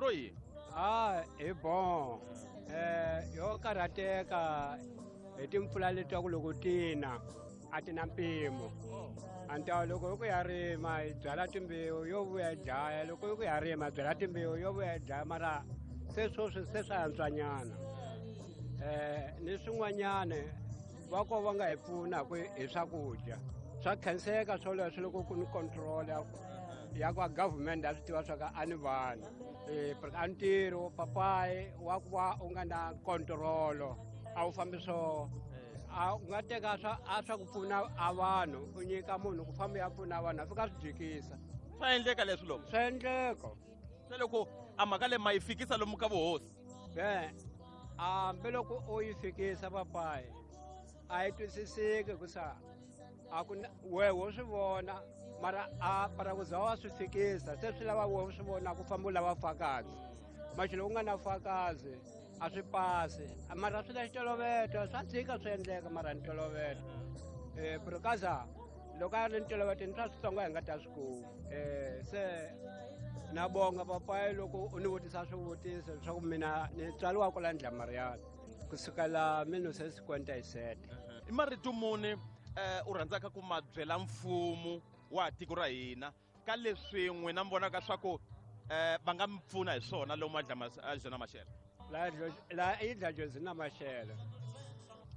ro yini? A hi bon yo karhateka hi timpfula letiwa ku loko tina a ti na mpimo. A loko hi ku ya rima hi byala timbewu yo vuya dlaya, loko hi ku ya rima byala timbewu yo vuya dlaya, mara se sweswi se swa antswanyana. Ni swin'wanyana va ko va nga hi pfuna ku hi swakudya swa khenseka swoleswo loko ku ni control ya kwa government a swi tiva swa ka a ni vanhu a ntirho papayi wa ku va u nga na control a wu fambi swo a u nga teka swa a swa ku pfuna a vanhu u nyika munhu ku famba ya pfuna vanhu a fika swi jikisa. Swa endleka leswi loko? Swa endleka. Se loko a mhaka leyi ma yi fikisa lomu ka vuhosi? Hambi loko u yi fikisa papayi a yi twisiseki hikusa a ku wehe wo swi vona mara a mara ku za wa swi fikisa se swi lava wehe u swi vona ku famba u lava fakazi maxi loko u nga na fakazi a swi pasi mara swi na xitoloveto swa tshika swi endleka mara ni toloveto because loko a ri ni toloveto ni swa switsongo hi nga ta swi kuma. Se na bonga papayi loko u ni vutisa swivutiso leswaku mina ni tswariwa kwala Ndlamariyana kusukela 1957. I marito muni u rhandzaka ku ma byela mfumo wa tiko ra hina ka leswi n'wina mi vonaka swa ku va nga mi pfuna hi swona lomu a Mashele? La i Dlajozina Mashele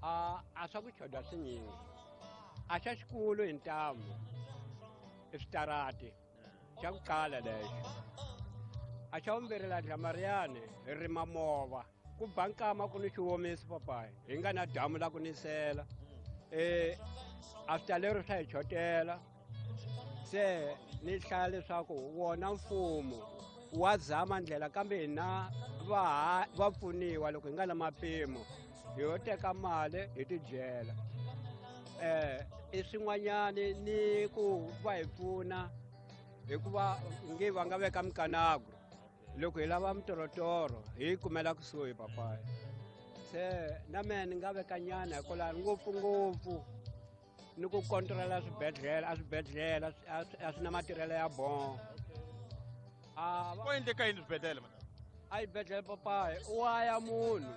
a swa ku choda swinyingi a xa xikulu hi ntamu i switarati xa ku qala lexo a xa vumbirhi la Dlamariyani hi rima mova ku ba nkama ku ni xiwomiso papayi hi nga na damu la ku nisela a switalero swa hi chotela. Se ni hlaya leswaku wona mfumo wa zama ndlela kambe hina va pfuniwa loko hi nga na mapimo hi yo teka mali hi tidyela. I swin'wanyani ni ku va hi pfuna hikuva nge va nga veka mikanagro loko hi lava mitorotoro hi yi kumela kusuhi papayi. Se na mehe ni nga veka nyana hikwalaho ngopfungopfu ni ku kontrola swibedhlele a swibedhlele a swi na matirhelo ya bon. Ko endleka yini swibedhlele? A xibedhlele papayi u wa ya munhu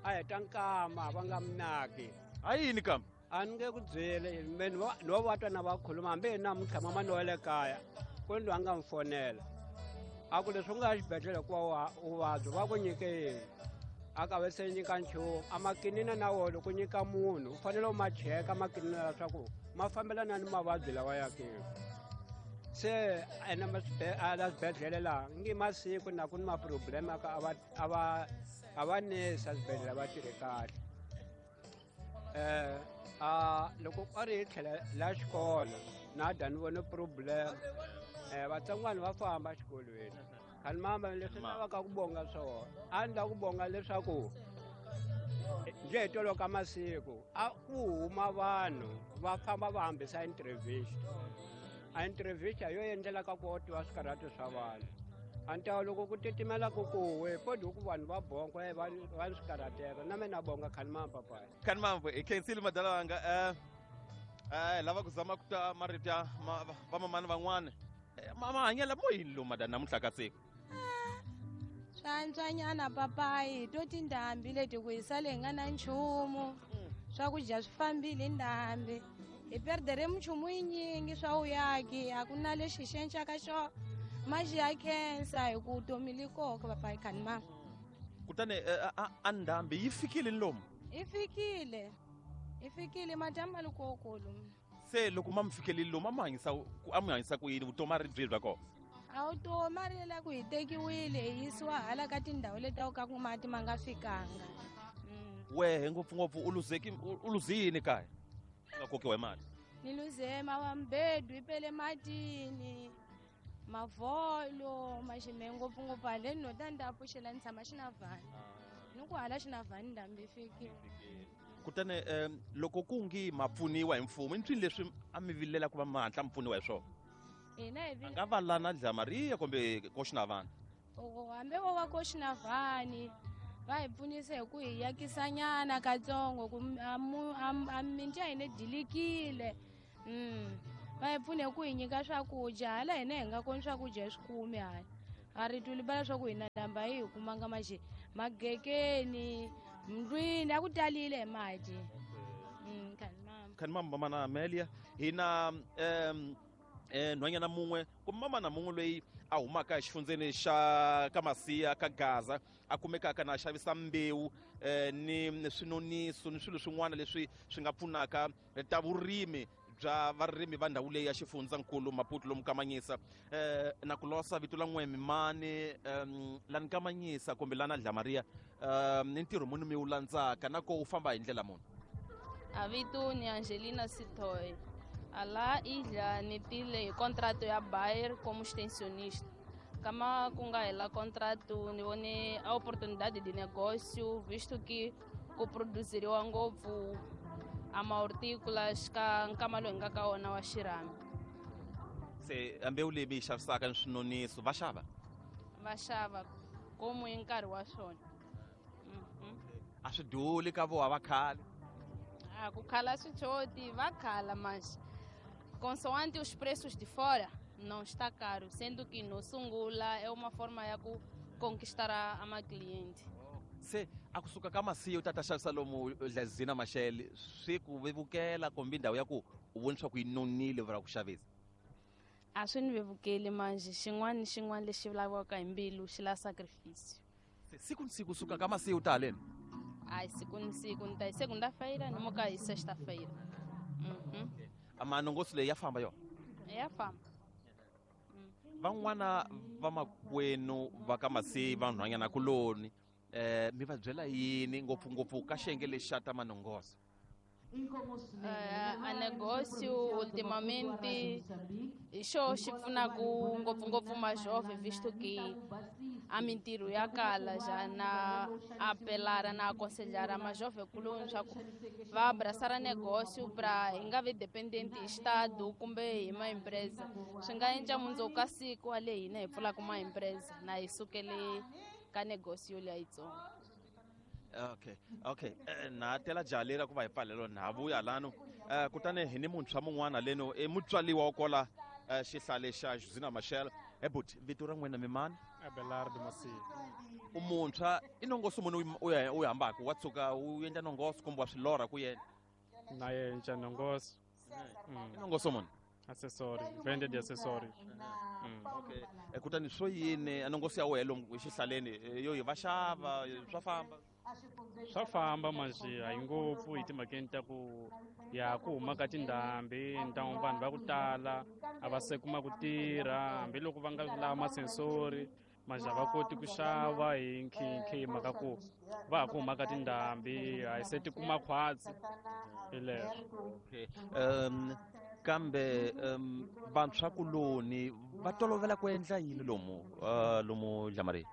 a heta nkama va nga minaki. A yini kambe? A ni nge ku byeli me no va twa na va khuluma hambi hi namuntlha mama ni wa le kaya ku ni loyi a nga n'wi fonela a ku leswi u nga ya xibedhlele hikuva u vabya va ku nyike yini a ka ve se nyika nchumu a makinina na wona loko nyika munhu u fanele u ma cheka makinina leswaku ma fambelana ni mavabyi lawa ya ke. Se ene a la swibedhlele laha ngi masiku na ku ni ma-problem ka a va nesa swibedhlele va tirhi kahle. A loko a ri hi tlhela la xikolo na da ni vone problem vatsongwana va famba exikolweni khani mamba leswi lavaka ku bonga swona a ni lava ku bonga leswaku nje hi tolo ka masiku a ku huma vanhu va famba va hambisa entrevista. A entrevista yo endlela ka ku tiva swikarhato swa vanhu a ni ta loko ku titimela ku kuwe podi ku vanhu va bonga va ni swikarhateka na mina bonga khani mamba papayi. Khani mamba hi khensile madala wanga lava ku zama ku ta marito ya vamamani van'wana mahanyela mo yini lomu madala namuntlha ka siku? Swa antswanyana papayi to tindhambi leti ku hi sale hi nga na nchumu swakudya swi fambile hi ndhambi hi perdere minchumu yinyingi swa vuyaki a ku na lexi xi encaka xo maxi ya khensa hi ku vutomi li koka papayi khani mama. Kutani a ndhambi yi fikile lomu? Yi fikile hi fikile madyambu ma le kokolo. Se loko ma mi fikelile lomu a mi hanyisa ku yini vutomi a ri byihi bya kona? A vutomi a ri la ku hi tekiwile hi yisiwa hala ka tindhawu leti ka ku mati ma nga fikanga. Wehe ngopfungopfu u luze yini kaya? U nga kokiwa hi mati? Ni luze mawambedu yi pele matini mavholo maxime ngopfungopfu haleni no ta ni ta pfuxela ni tshama xinavhani ni ku hala xinavhani ndhambi yi fikile. Kutani loko ku ngi ma pfuniwa hi mfumo i nswini leswi a mi vilela ku va ma hatla mi pfuniwa hi swona? Hina hi A nga va lana Dlamariya kumbe Koxinavani? Hambi vo va Koxinavani va hi pfunisa hi ku hi yakisanyana katsongo ku a mimiti ya hina dilikile. Va hi pfuna hi ku hi nyika swakudya hala hina hi nga koni swakudya hi swi kumi hala. A ri twi libala swa ku hina ndhambi a yi hi kumanga maxi magekeni ndlwini a ku talile hi mati. Khanimama. Khanimama mamana Amelia hi na nhwanyana mun'we kumbe mamana mun'we loyi a humaka exifundzeni xa ka Masiya ka Gaza a kumekaka na xavisa mbewu ni swinoniso ni swilo swin'wana leswi swi nga pfunaka ta vurimi bya varimi va ndhawu leyi ya xifundzankulu Maputo lomu Kamanyisa. Na ku losa vito la n'we mimani la ni Kamanyisa kumbe la na Dlamaria ni ntirho muni mi wu landzaka na ko wu famba hi ndlela muni? A vito ni Angelina Sithoy. Ala ilha ni tile hi contrato ya Bayer como extensionista. Kama ku nga hela contrato ni vone a oportunidade de negócio visto que ku produziriwa ngopfu a mahortícolas ka nkama lowu hi nga ka wona wa xirhami. Se mbewu leyi mi yi xavisaka ni swinoniso va xava? Va xava komu hi nkarhi wa swona. A swi duli ka voha va khale? A ku khala swi choti va khala mas consoante os preços de fora não está caro, sendo que no sungula é uma forma ya ku conquistar a ma cliente. Se a kusuka ka Masiya u ta ta xavisa lomu Dlazina Mashele swi ku vevukela kumbe ndhawu ya ku u vona swa ku yi nonile vura ku xavisa? A swi ni vevukeli manje xin'wana ni xin'wana lexi laviwaka hi mbilu xi la sacrifice. Se siku ni siku suka ka Masiya u ta haleni? Ai siku ni siku ni ta hi segunda-feira ni muka hi sexta-feira. Manongoso leyi ya famba yona? Ya famba. Van'wana va makwenu va ka Masiya vanhwanyana kuloni mi va byela yini ngopfungopfu ka xiyenge lexi xa ta manongoso? A negócio ultimamente hi xo xi pfunaku ngopfungopfu majovem visto que a mintirho ya kala já na apelar na aconselhar a majovem kuloni swa ku va abraçar a negócio pra hi nga vi dependente hi estado kumbe hi ma empresa. Swi nga endla mundzuku ka siku wa le hina hi pfulaka ma empresa na hi sukele ka negócio liya yitsongo. Okay. Na tela jaha leri ku va hi pfalelo na vuya lano. Kutani hi ni muntshwa mun'wana leno i mutswaliwa wa kola xihlale xa Josina Machel. Buti vito ra n'wina mi mani? Abelardo Masiya. U muntshwa i nongoso muni u hambaka wa tshuka u endla nongoso kumbe wa swi lorha ku yena? Na yenca nongoso. I nongoso muni? Accessory, venda de accessories. Okay. Kutani swo yini a nongoso ya wena lomu exihlaleni yo yi va xava swa famba? Swa famba manje a yi ngopfu hi timhakeni ta ku ya ku huma ka tindhambi ntamu vanhu va ku tala a va se kuma ku tirha hambiloko va nga lava masensori manje a va koti ku xava hi nkhinkhi hi mhaka ku va ha ku huma ka tindhambi a hi se ti kuma khwatsi hi leswo. Okay. Kambe vantshwa kuloni va tolovela ku endla yini lomu lomu Dlamaria?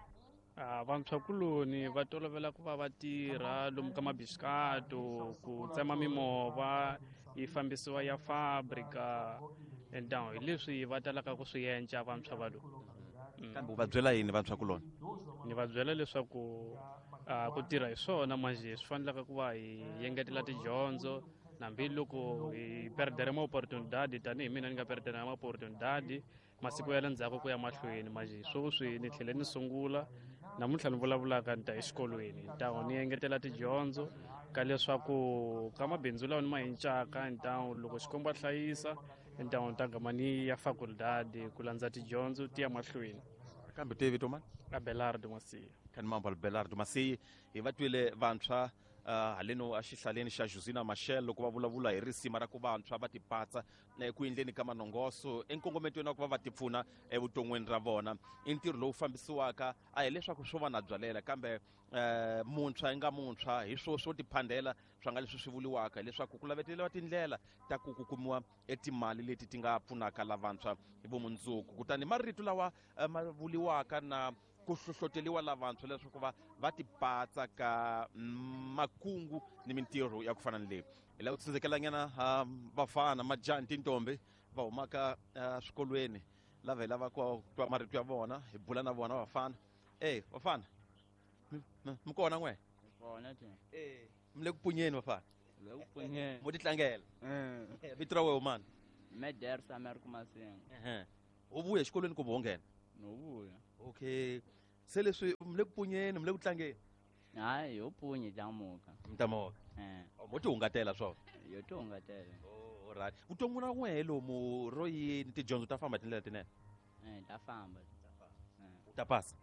Vantshwa kuloni va tolovela ku va va tirha lomu ka mabisikato ku tsema mimovha yi fambisiwa ya fabrika entamu hi leswi va talaka ku swi endla vantshwa va lomu. Kambe u va byela yini vantshwa kuloni? Ni va byela leswaku ku tirha hi swona manje swi fanelaka ku va hi engetela tidyondzo hambiloko hi perdere ma oportunidade tanihi mina ni nga perdere ma oportunidade masiku ya le ndzhaku ku ya mahlweni manje sweswi ni tlhele ni sungula namuntlha ni vulavulaka ni ta exikolweni ntawu ni engetela tidyondzo ka leswaku ka mabindzu lawa ni ma encaka ntawu loko Xikwembu a hlayisa ntawu ni ta gama ni ya facultad ku landza tidyondzo ti ya mahlweni. Kambe te vito mani? Abelardo Masiya. Khanimambo Abelardo Masiya. Hi va twile vantshwa haleno exihlaleni xa Josina Machel loko va vulavula hi risima ra ku vantshwa va tipatsa ku endleni ka manongoso enkongometweni wa ku va va tipfuna evuton'wini ra vona. I ntirho lowu fambisiwaka a hi leswaku swo va na byalela kambe muntshwa i nga muntshwa hi swo swo tiphandela swa nga leswi swi vuriwaka hileswaku ku laveteriwa tindlela ta ku ku kumiwa etimali leti ti nga pfunaka lavantshwa hi vumundzuku. Kutani marito lawa ma vuriwaka na ku hlohloteliwa lavantshwa leswaku va tipatsa ka makungu ni mintirho ya ku fana ni leyi. Hi lava ku tsundzukelanyana vafana majaha ni tintombi va humaka swikolweni lava hi lava ku twa marito ya vona hi bula na vona vafana. Vafana mi kona n'we? Kona te. Mi le ku punyeni vafana? Le ku punyeni. Mo titlangela? Vito ra wena mani? Meder Samer Kumasinga. U vuya exikolweni kumbe wo nghena? No vuya. Okay, se leswi mi le ku punyeni, mi le ku tlangeni? Hayi, yo punye tamuka. Mi tamuka. Mo ti hungatela swona? Yo ti hungatela. Oh, alright. Vutomi ra n'wehe lomu ro yini, tidyondzo ta famba tindlela tinene? Ta famba. U ta pasa?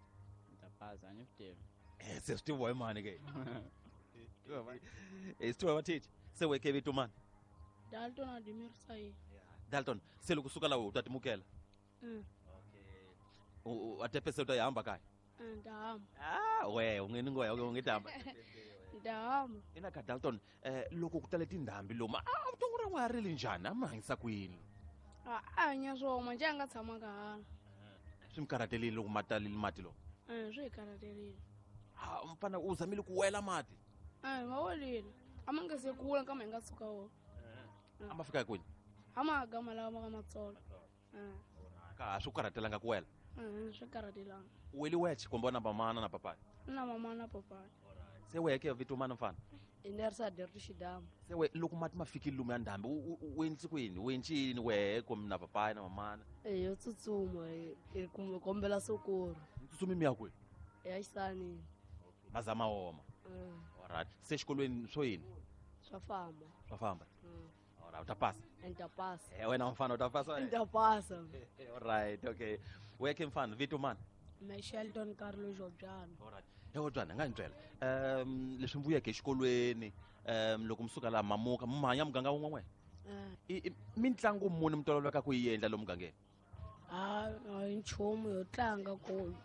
Ta pasa, a ni swi tivi. Se swi tiviwa hi mani ke? Swi tiviwa hi vateacher. Se weke vito mani? Dalton Adimir Sayi. Dalton, se loko suka laha u ta timukela? Okay. A tepese u ta yi hamba kaya? Ta hamba. Ah, we, u nge ni ngoya, u nge ta hamba. Ta hamba. Ina ka Dalton, loko ku tale tindhambi lomu, vutomi ra n'wana ri le njhani? A mi hanyisa ku yini? A hanya swona, njhe a nga tshamanga hala. Swi mi karhatelile loko ma talile mati lowu? Swi hi karhatelile. Ha, mfana u zamile ku wela mati? Ma welile. A ma nga se kula kambe hi nga suka wona. A ma fika kwini? A ma gama lawa ma ka matsolo. Ka ha swi ku karhatelanga ku wela? Swi karhatelanga. U weli weche kumbe na mamana na papai? Na mama na papai. Se weke vito mana mfana? Inersa Dertu Shidamu. Se we loko mati ma fikile lomu ya ndhambi, u endli ku yini? U endli yini wehe kumbe na papai na mamana? Yo tsutsuma, hi kombela sokoro. Tsutsumi mi ya kwihi? Ya xisanini. Mazama woma. Alright. Se xikolweni swo yini? Swa famba. Swa famba. Alright, u ta pasa? Ni ta pasa. Wena mfana u ta pasa? Ni ta pasa. Alright, okay. Weke mfana, vito mani? Me Shelton Carlos Jobyana. Alright. Jobyana, nga ni byela. Leswi mi vuyeke exikolweni, loko mi suka laha mamuka, mi hanya muganga wun'we n'we? Mitlangu muni mi tolovelaka ku yi endla lomu mugangeni? A hi nchumu yo tlanga kulu.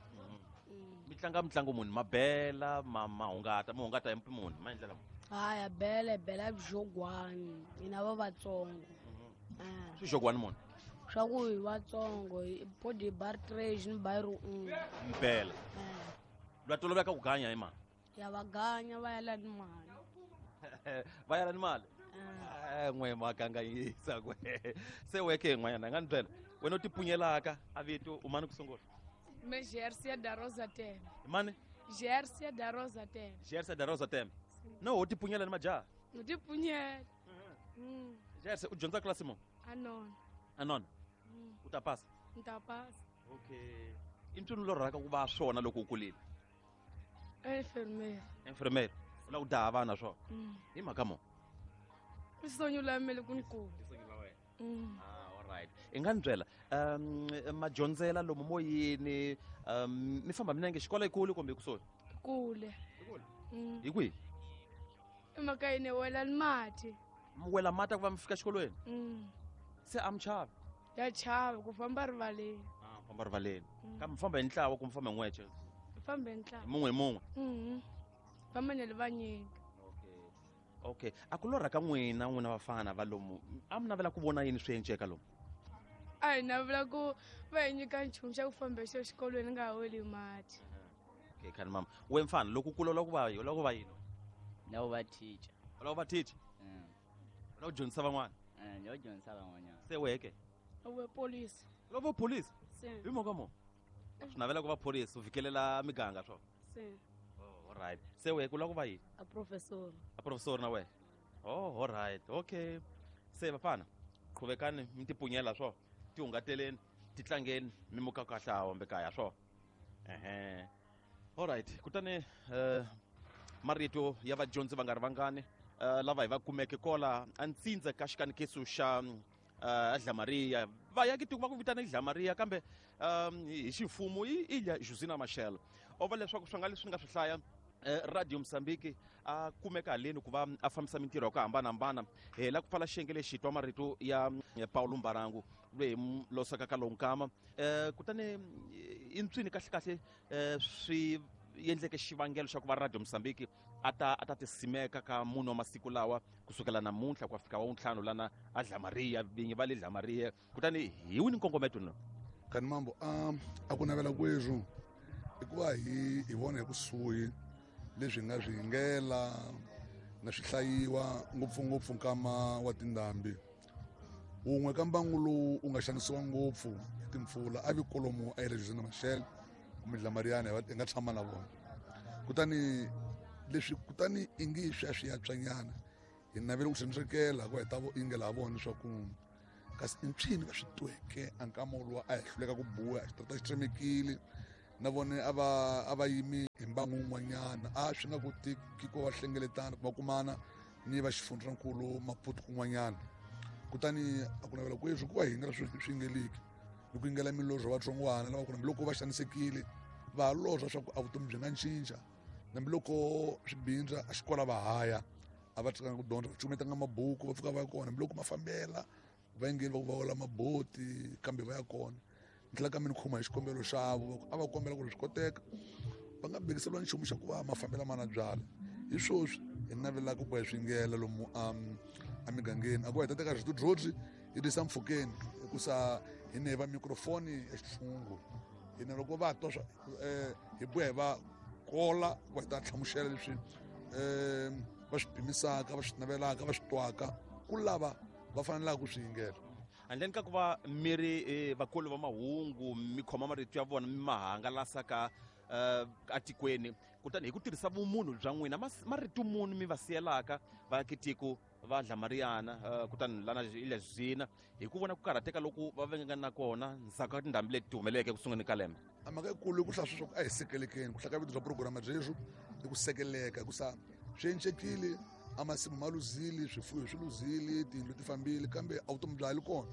Mi tlanga mitlangu muni? Mabela, ma hungata, mi hungata hi muni? Ma endlela muni? Haya, bela, bela byogwani, hina va vatsongo. Swi xogwani muni? Swa ku hi vatsongo, hi body bar trash ni bayiro un'we. Mpela. Lwa toloveka ku ganya hi mali? Ya va ganya va yala ni mali. Va yala ni mali? N'we ma kanganyisa kwe. Se weke n'wanyana nga ni byela. Wena u tipunyelaka a vito u mani ku sungula? Me Jersia da Rosa Tembe. Mani? Jersia da Rosa Tembe. Jersia da Rosa Tembe. No, u tipunyela ni majaha? U tipunyela. Jersia, u dyondza klasi muni? Anona. Anona? U ta pasa? Ni ta pasa. Okay. I ntswini lorhaka ku va swona loko u kulile? Enfermeira. Enfermeira. U lava ku daha vana swona? Hi mhaka muni? I sonyo la mele ku ni kula. Alright. I nga ni byela, madyondzela lomu moyeni, mi famba minenge xikolo ekule kumbe ekusuhi? Kule. Hi kwihi? Emakayeni wela ni mati. Mi wela mati ku va mi fika xikolweni? Se a mi chavi? Ya chava ku famba rivaleni. Famba rivaleni. Kambe mi famba hi ntlawa kumbe mi famba hi n'wexe? Famba hi ntlawa. Hi mun'we hi mun'we? Famba na le vanyingi. Okay. A ku lorha ka n'wina, n'wina vafana va lomu, a mi navela ku vona yini swi enceka lomu? A hi navela ku va hi nyika nchumu xa ku famba hi xo xikolweni nga ha weli mati. Okay, khani mama. We mfana, loko u kula u lava ku va yini? U lava ku va yini? Ni lava ku va teacher. U lava ku va teacher? U lava ku dyondzisa van'wana? Ni lava ku dyondzisa van'wanyana. Se weke? U ve police. U lava ku va police? Se. Hi mhaka muni? Swi navela ku va police, u fikelela miganga swona? Se. Oh, all right. Se weke u lava ku va yini? A professor. A professor na wena? Oh, all right. Okay. Se vafana, qhuvekani mi tipunyela swona. Tihungateleni, titlangeni, mi muka kahle a hombe kaya swona. All right. Kutani marito ya vadyondzi va nga ri vangani lava hi va kumeke kola a ntsindza ka xikanekiso xa Dlamaria. Va ya ki tiko va ku vitana Dlamaria kambe hi ximfumo i Ilha Josina Machel. O va leswaku swi nga leswi ni nga swi hlaya Radio Mozambique a kumeka haleni ku va a fambisa mintirho ya ku hambanahambana. Hi la ku pfala xiyenge lexi twa marito ya Paulo Mbarangu loyi hi losaka ka lowu nkama. Kutani i ntswini kahle kahle swi endleke xivangelo xa ku va Radio Mozambique a ta tisimeka ka munhu wa masiku lawa kusukela namuntlha ku ya fika wa ntlhanu lana a Dlamaria, vinyi va le Dlamaria. Kutani hi wini nkongometo no? Kani mambo, a ku navela kweswo i ku va hi vona hi kusuhi leswi hi nga swi hingela na swi hlayiwa ngopfungopfu nkama wa tindhambi. Wun'we ka mbangu lowu wu nga xanisiwa ngopfu hi timpfula a vi kolomo a Ilha Josina Machel kumbe Dlamariana hi nga tshama na vona. Kutani leswi kutani i ngi swi ya swi ya tswanyana hi navela ku xandzukela ku hi ta ingela ha vona leswaku Kasi i mpyini va swi tweke a nkama woluwa a hi hluleka ku buya xitarata xi tsemekile na vone a va yimi hi mbangu wun'wanyana a swi nga koteki ku va hlengeletana ku va kumana ni va xifundzankulu Maputo kun'wanyana. Kutani a ku navela kweswi ku va hi nga swi yingeliki ni ku yingela milorho vatsongwana lava ku hambiloko va xanisekile va lorha swa ku a vutomi byi nga cinca, hambiloko swi bindza a xikola va haya a va tshikanga ku dyondza, va cukumetanga mabuku va pfuka va ya kona, hambiloko ma fambela va yingeli va ku va wela maboti kambe va ya kona. Ni tlhela kambe ni khoma hi xikombelo xavo a va kombela ku ri swi koteka va nga bekiseriwa nchumu xa ku va mafambela mana byala. Hi swoswi hi navelaka ku va hi swi yingela lomu emigangeni a ku va hi ta teka rito hi tisa mpfhukeni hikusa hi ne va microphone ya xitshungu hina loko va twa swa hi buya hi va kola va hi ta hlamusela leswi va swi pimisaka, va swi navelaka, va swi twaka ku lava va fanelaka ku swi yingela. Handleni ka ku va mi ri vakulu va mahungu mi khoma marito ya vona mi ma hangalasa ka atikweni, kutani hi ku tirhisa vumunhu bya n'wina marito muni mi va siyelaka vaakitiko va Dlamariana kutani lana Ilha hi ku vona ku karhateka loku va vengaka na kona ndzhaku ka tindhambi leti humeleleke ku sunguleni ka lembe? A mhaka yikulu i ku hlaya sweswo a hi sekelekeni ku hlaya ka vito bya program byeswo i ku sekeleka hikusa swi encekile a masimu ma luzile, swifuwo swi luzile, tiyindlu ti fambile kambe a vutomi bya ha li kona.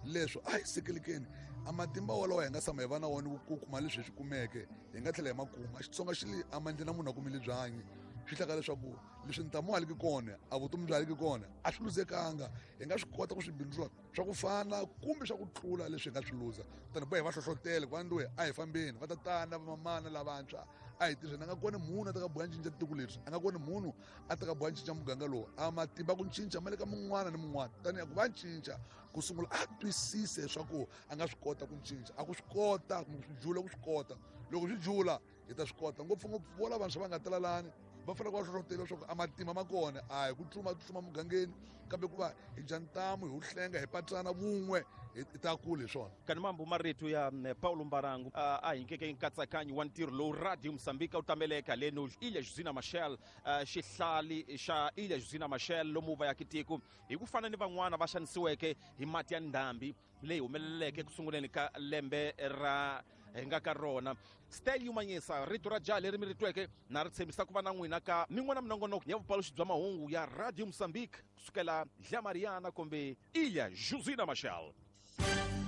Leswo a hi sekelekeni a matimba walawo hi nga tshama hi va na wona ku kuma leswi hi swi kumeke hi nga tlhela hi ma kuma. Xitsonga xi le a mandleni munhu a kumile byanyi swi hlaka leswaku leswi ntamu ha liki kona a vutomi bya ha liki kona a swi luzekanga, hi nga swi kota ku swi bindzula swa ku fana kumbe swa ku tlula leswi hi nga swi luza. Kutani boha hi va hlohlotele ku va nduwe a hi fambeni va tatana vamamana lavantshwa a hi tirheni. A nga koni munhu a ta ka boha cinca tiko leri, a nga koni munhu a ta ka boha cinca muganga lowu, a matimba ku cinca ma le ka mun'wana ni mun'wana. Tanihi ku va cinca ku sungula a twisise leswaku a nga swi kota ku cinca, a ku swi kota kumbe ku swi jula ku swi kota. Loko swi jula hi ta swi kota ngopfungopfu vo lavantshwa va nga talalani va fanele ku va hlohlotela leswaku a matimba ma kona a hi ku tsutsuma mugangeni kambe ku va hi dya ntamu hi wu hlenga hi patsana vun'we hi ta kula hi swona. Kani mambu marito ya Paulo Mbarangu a hi nyikeke nkatsakanyo wa ntirho lowu Radio Mozambique wu tameleka leno Ilha Josina Machel, xihlali xa Ilha Josina Machel lomu va yaka tiko hi ku fana ni van'wana va xanisiweke hi mati ya ndhambi leyi humeleleke ku sunguleni ka lembe ra hi nga ka rona. Stel Manyisa rito ra jaha leri mi ri tweke na ri tshembisa ku va na n'wina ka min'wana minongonoko ya vupaluxi bya mahungu ya Radio Mozambique kusukela Dlamariana kumbe Ilha Josina Machel.